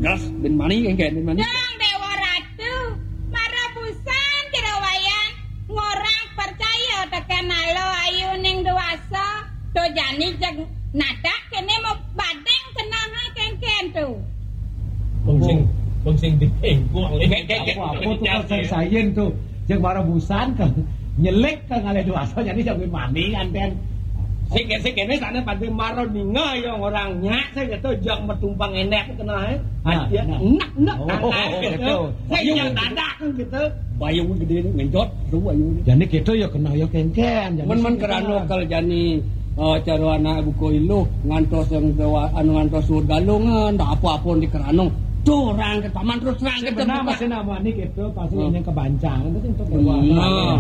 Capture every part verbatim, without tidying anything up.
Terus bin mani kan kayak bin mani. Dang Dewa Ratu, mara busan Jero Wayan, ngorang percaya teken ala ayu ning dewasa, to jani jeg nadak kene mau badeng kena ha kengken tu. Bungsing, bungsing di tengkuk. Apa-apa tu kan sing sayen tu. Jeg mara busan kan nyelek kan ngalih dewasa jani jeg bin mani kan ten. Sing sing kene sana pada mara ninga ya orang nyak saya kata jak metumpang enek kena eh. Nah, Dia nah. Enak enak Oh, tangan gitu. Gitu. Saya yang dadak kan gitu. Bayung gede ni ngenjot tu bayung ni. Jani kita ya kena ya kengken. Jani Men men kita kerana kena. Kal jani eh, cara anak buku iluh ngantos yang dewa anu ngantos suud galungan, tak apa-apa di kerana. Tu orang ke paman terus terang ke Benar terbuka. Masih nama ni kita pasti Hmm. Yang kebancang. Itu sih untuk dewa. Nah,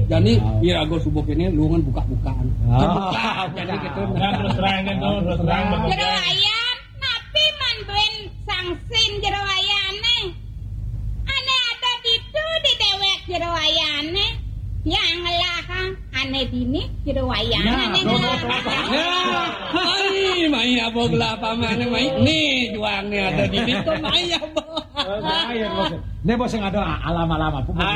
jadi Ah. Irago subuh kene luangan buka-bukaan. Ah. Terbuka. Jadi kita Nah, terus terang kan tu, terus terang. Jero Wayan, napi man duin sangsin Jero Wayane? Ane ada ditu di dewek Jero Wayane. Yang ngelah ane dini Jero Wayan Nah, ane tuh, ngelah. Tuh, tuh, tuh. Ya, ai, mai apa gelah paman mai. Ni juang ni ada dini tu mai apa? Lain, bos. Ini bos yang ada alam-alam apa? Ah,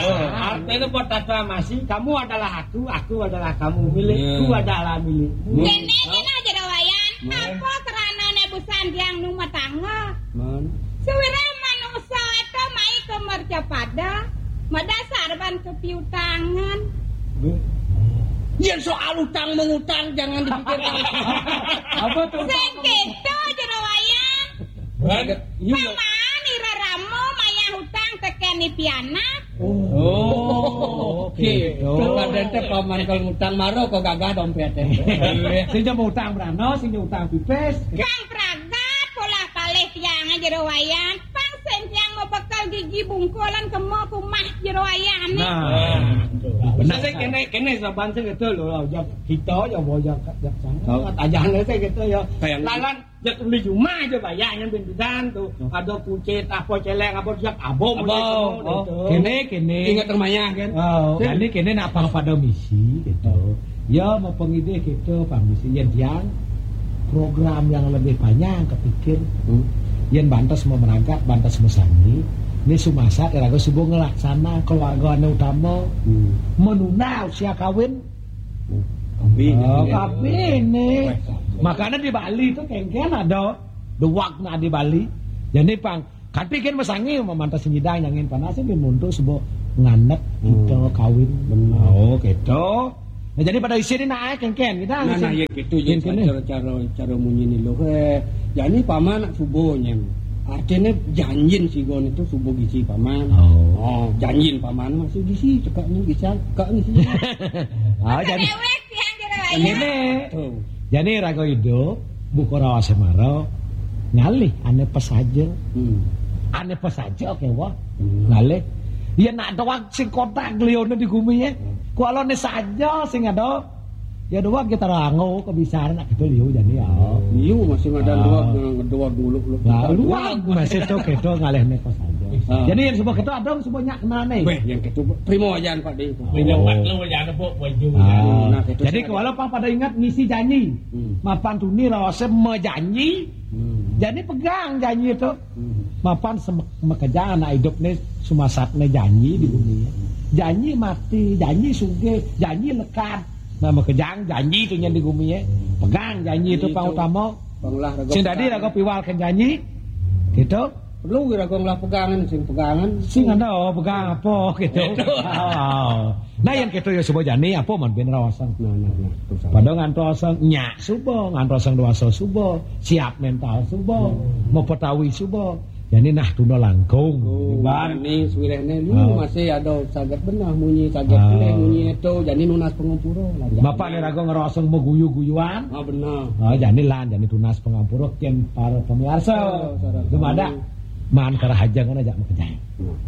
artinya buat tata masih, kamu adalah aku, aku adalah kamu, milikku Hmm. Adalah milikmu. Kene kene Jero Wayan, Hmm. Apa kerana ne busan tiang nu matangga? Man. Sewira manusa eta mai ke mercapada, madasar ban kepiutangan. Yen soal utang mengutang jangan dipikirkan. Apa tuh? Sing keto Jero Wayan. Kan? Paman ira rama mayah utang teken ni pianak. Oh, oke. Tuh, kadang teh paman kalau ngutang maro kok gagah dompetnya. Sing jam utang berano, sing jam utang pipis. Kang pragat polah palih tiang Jero Wayan. Pang sing tiang mau bekel gigi bungkulan kemo kumah Jero Wayan ni. Nah. Nah, benar. Saya kene kene saban saya kata lo, kita ya boyak kat sana. Oh. Kat ajahan saya kata ya. Kayak Lalan Jak beli rumah aja bayar yang bintudan tu. Hmm. Ada kucit apa celeng apa jak abang Abang, oh, kene kene. Ingat rumahnya kan? Oh, kene kene nak pang pada misi gitu. Ya mau pengidih gitu pang misi yang tiang program yang lebih panjang kepikir. Hmm. Yang bantas mau merangkak, bantas mau sani. Ini sumasat raga subuh ngelaksana keluarga ane utama. Hmm. Menunda usia kawin. Kabin. Oh, kabin ni. Makanya di Bali tu kengken ada dua nak di Bali. Jadi pang kanti kan masangi mamantas nyidang nyangin panas ni muntu sebab nganek kita kawin. Benar. Oh, gitu. Nah, jadi pada isi ni nak kengken kita. Nah, nah, ya gitu ya cara cara cara munyi ni loh. Eh, jadi paman nak subuh nyem. Artinya janjin si gon itu subuh gisi paman. Oh. Oh, janjin paman masih gisi cekak ni gisi cekak ni sih. Ah, jadi Dewek tiang Jero Wayan. Ini. Tuh. Jadi raga idup buka rawa semara ngalih ane pesaja. Hmm. Ane pesaja kewa. Hmm. Ngalih. Ya nak doang sing kotak lione di gumi ya. Hmm. Kualone saja sing ada. Ya doang kita rango kebisaran nak kita liu jadi ya. Liu masih ada Ah. Doang yang doang dulu lu. Nah, luang masih tu kita ngalih ne pesaja. Ah. Jadi yang sebab kita ada sebab nyak kenane. Weh, yang itu primo aja Pak Ding. Primo Oh. Pak lu aja ada buat baju. Ah. Nah, itu Jadi saya kalau pang pada ingat ngisi janji. Hmm. Mapan tuni rawase mejanji. Hmm. Jadi pegang janji itu. Hmm. Mapan sem- mekeja anak hidup ni sumasat ni janji di bumi. Janji mati, janji sugih, janji lekad. Nah, mekejang janji tu yang di bumi ya. Pegang janji itu Itu. Pang utama. Panglah raga Sing tadi pegang. Raga piwal kan janji. Gitu. Perlu kira kong lah pegangan, sing pegangan. Sing ada oh, pegang apa gitu. Gitu. Oh. Nah, yang kita ya subuh jani apa man bin rawasang. Nah, nah, nah, tu salah. Pada ngantos nyak subuh, ngantos dewasa subuh, siap mental subuh, Hmm. Mau petawi subuh. Jadi nah tunda langkung. Oh, Ban. Ni suwirehne ni Oh. Masih ada saget benah munyi, saget Ah. Pelih munyi itu, jadi nunas pengempura lah. Bapak ni raga ngerosong meguyu-guyuan. Ah, benar. Ah, jadi lan, jadi tunas pengempura ken para pemirsa. Oh, saudara Dumadak kami. Man kerahajang aja mekejang. Hmm.